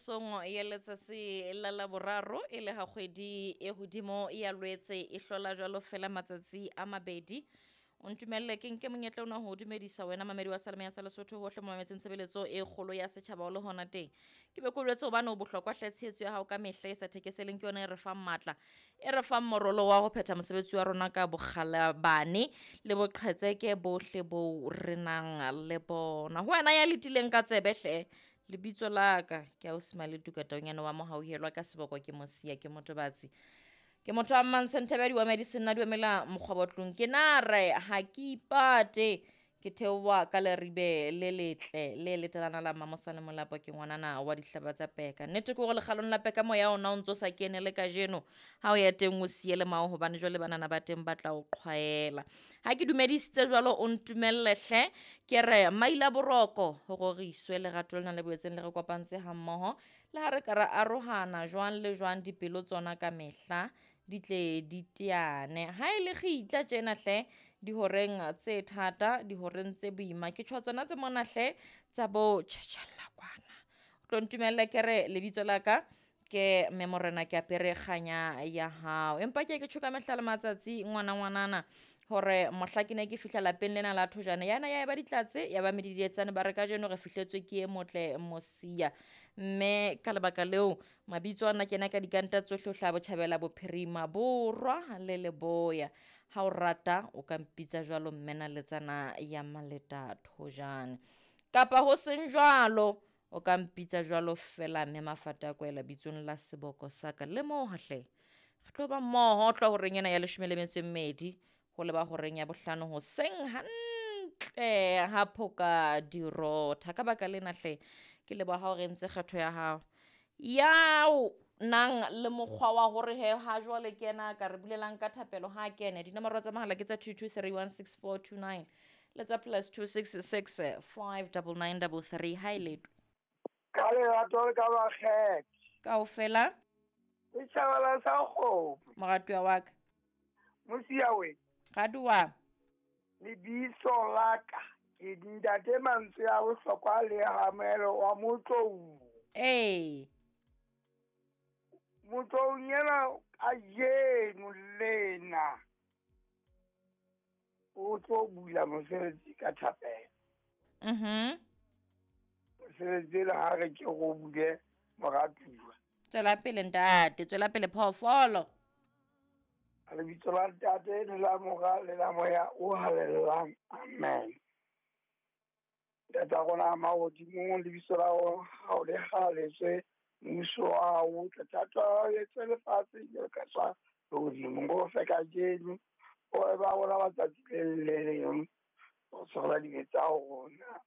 Mesong ya letsatsi la Laboraro e le ha kgwedi e hodimo ya Lwetse e hlola jwalo fela matsatsi a mabedi. O ntumelle ke nke monyetla ona ho dumedisa wena mamedi wa Salome ya sa Lesotho hohle mo mametseng tshebeletso e kgolo ya setjhaba o le hona teng. Ke be ke o jwetse hobane o bohlokwa hle tshehetso ya hao ka mehla e sa thekeseleng ke yona e re fang matla, e re fang morolo wa ho phetha mosebetsi wa rona ka bokgalabane le boqhetseke bohle boo re nang le bona. Ho wena ya letileng ka tsebe hle, lebitso la ka ke ausi Maletuka Taunyane wa Mohauhelwa ka seboko ke Mosia ke Motobatsi. Ke motho wa Mmantshe Nthebe wa Medicine nna duemela mokgwabotlong ke na re ha ke ipate ke theoha ka leribe le letle le letelana la Mmamosa le Molapo ke ngwanana wa dihlaba tsa peka. Nnete ke hore lekgalong la peka moya ona o ntso sa kene le kajeno ha o ya teng o siye le mao hobane jwale banana ba teng ba tla o qhwaela. Ha ke dumedisitse jwalo o ntumelle hle ke re maila boroko ho roriswe lerato lena le boetseng le re kopantse ha mmoho le ha re ka ra arohana jwang le jwang dipelo tsona ka mehla di tle di teane. Ha e le kgitla tjena hle dihoreng tse thata, dihoreng tse boima ke tjho tsona tse mona hle tsa bo tjhetjhella kwana. O tlo ntumelle ke re lebitso la ka ke mme morena ke apere kganya ya hao. Empa ke ye ke tjho ka mehla le matsatsi ngwana ngwanana hore mohla ke ne ke fihla lapeng lena la Thojane yana ya eba ditlatse ya ba medidietsane ba re kajeno re fihletswe ke e motle Mosia. Mme ka lebaka leo mabitso ana kena ka dikanta tsohle ho hlaha botjhabela bophirima borwa le leboya. Ha o rata o ka mpitsa jwalo mme naletsana ya Maleta Thojane. Kapa ho seng jwalo o ka mpitsa jwalo fela mme Mafata a kwela bitsong la seboko sa ka le moo hle. Re tlo ba mmoho tlo horeng ena ya 12 ho leba horeng ya 5 hoseng hantle ha phoka dirotha. Ka baka lena hle ke leboha ha o re entse kgetho ya hao yao nang le mokgwa wa hore he ha jwale ke yena ka re bulelang ka thapelo ha kene. Dinomoro tsa mohala ke tsa 22316429 le tsa +266 59933. Ha e letwe ka lerato le ka bakgetho kaofela setjhaba sa kgomo moratuwa wa ka Mosia we Raduwa lebitso la ka ke ntate mantswe a bohlokwa le Hamelo wa Motlou. Ee Motlou yena kajeno lena o tlo bula mosebetsi ka thapelo. Mosebetsi le ha re ke go bule moratuwa. Tswela pele ntate, tswela pele phoofolo. Lebitso la ntate le la mora le la moya o halalelang. Amen. Ntate wa rona mahodimong, lebitso la hao le halaletswe, mmuso wa hao o tle, thato ya hao e etswe lefatsheng jwalo ka sa lehodimong. O re fe kajeno, o re ba rona ba tsatsi le le leng, o tshwarela dibe tsa rona.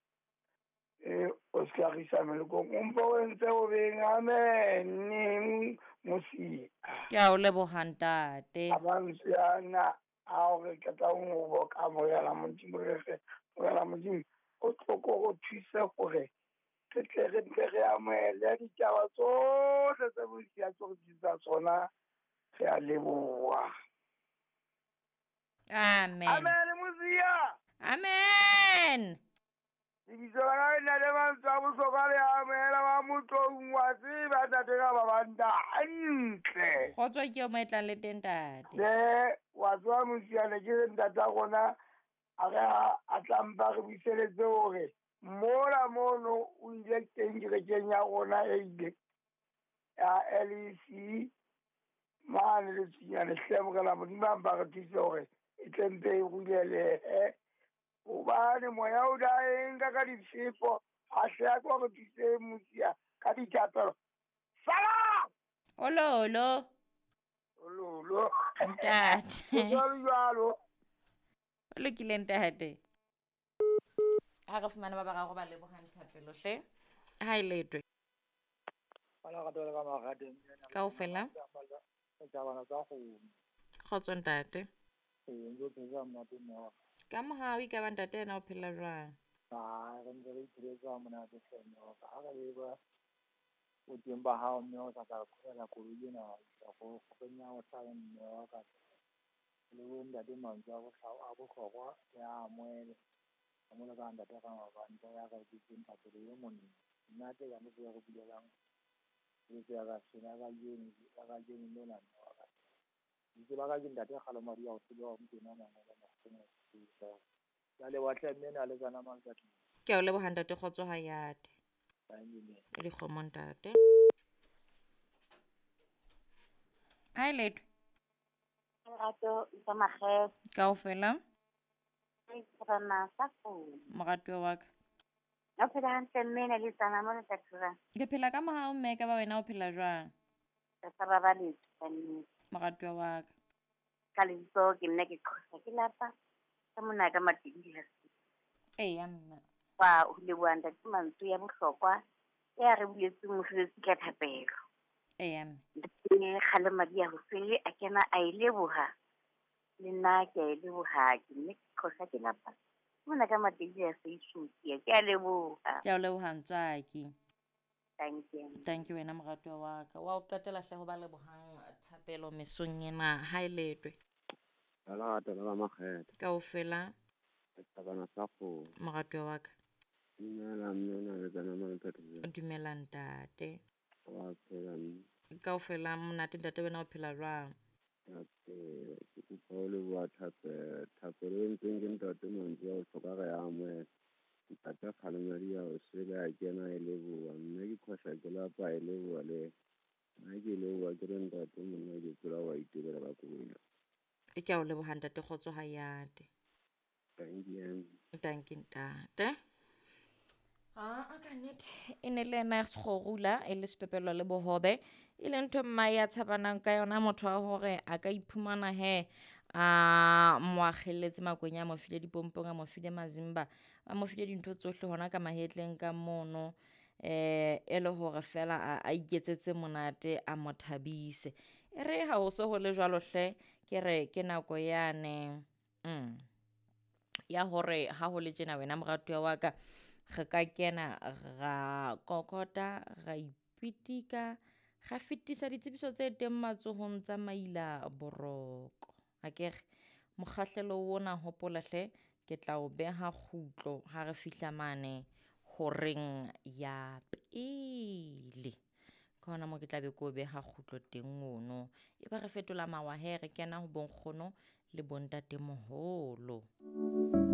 O se ka re isa melekong, o mpe o entse o beng. Amen. Mosia. Ke a o leboha ntate. A mantswe ana a hore ke tla o boka Morena Modimo, re re Morena Modimo o tlo ko go thuse hore re tle re ntle re amohele ditaba tsohle tse Mosia tso re tlisang tsona. Re a leboha. Amen. Amen Mosia. Amen. Lebitso la ka le na le mantswe a bohlokwa le amohela wa Motlou wa tseba ntate ka ba banta hantle. Kgotso ke yo mo e tlang le teng ntate. Le wa tseba Mosia ne ke re ntate wa rona a re a tla mpa re buiseletse hore mola mono o ile teng kerekeng ya rona e ile ya LEC mane le Tsinyane hle Morena Modimo a mpa re thuse hore e tle mpe e rulelehe. Hobane moya o da e nka ka difefo, a hle a ko re thuse Mosia ka dithapelo. Sala! Ololo. Ololo. Ntate. Jwalo jwalo. O lokile ntate. Ha re fumane ba bararo ba lebohang thapelo hle. Ha e letwe. Kaofela. Kgotso ntate. Ka mohau e ka ba ntate yena o phela jwang? Re ntse re ipheletsa monate hle mme wa ka. Ha re leba boteng ba hao mme o sa tla qhobela koloi ena isa ko kgorong ya ho hlaha mme wa ka. Le bo ntate mantswe a bohlokwa le a amohele. A mo le ka ntate ka mabanta ya ka ke teng thapelo e monne. Nna tse ka mo re bulelang Tshebeletso ya kasheno ya kajeno ya kajeno lena mme wa ka. Lebitso la ka ke ntate Kgalomadi ya ho tseba wa Mokwena Mangolo Makgoweng a Sesosa. Ke a leboha hle mme na le tsana mang ka tlung. Ke a o leboha ntate Kgotso Hayate. Thank you mme. E dikgomo ntate. Hi Letwe. Lerato tsa makgethe. Kaofela. Re sa founu. Moratuwa wa ka. O phela hantle mme na le tsana mo le tla thura. Ke phela ka mohau mme ka ba wena o phela jwang? Re sa babaletswe ka nnete. Moratuwa wa ka. Ka lebitso ke nna ke qhosa ke lapa ka mona ka Matedi ha se. Eya mme. Wa ho leboha ntate mantswe ya bohlokwa ya re buletseng mosebetsi ka thapelo. Eya mme. Ntate Kgalemadi ya hosele a kena a e leboha. Le nna ke a e leboha ke nne ke qhosa ke lapa. Mona ka Matedi ya Seishotia ke a leboha. Ke a o leboha ntswaki. Thank you. Thank you wena moratuwa wa ka. Wa o qetela hle ho ba lebohang thapelo mesong ena. Ha e letwe. Lerato la ba makgethe. Kaofela. Setabana sa kgomo. Moratuwa wa ka. Dumela mme na le tsana mo le Dumela ntate. Wa phela mme. Kaofela monate ntate wena o phela jwang? Ke a phela. Ke kopa ho leboha thapelo. Thapelo e entsweng ke ntate mantswe a bohlokwa re a amohela. Ntate Kgalemadi ya hosele a kena e leboha. Mme ke qhosha ke lapa e leboha le nna ke leboha ke re ntate monna ke tsela wa itebela ka koloi. E ke a o leboha ntate Kgotso Hayate. Thank you. Thank you ntate. A ka nnete e ne le ena sekgorula e le sepepelo le bohobe e le ntho mma ya tshabanang ka yona motho wa hore a ka iphumana he a mo akgelletse makwenya a mo file dipompong a mo file mazimba a mo file dintho tsohle hona ka mahetleng ka mono e le hore fela a iketsetse monate a mo thabise. E re ha ho so ho le jwalo hle ke re ke nako yane ya hore ha ho le tjena wena moratuwa wa ka re ka kena ra kokota ra ipitika ra fetisa ditsebiso tse teng matsohong tsa maila boroko. Akere mokgahlelo ona hopola hle ke tla o beha kgutlo ha re fihla mane horeng ya pele. Ka hona moo ke tla be ke o beha kgutlo teng ono. E ba re fetola mawa he re kena ho bonkgono le bontatemoholo.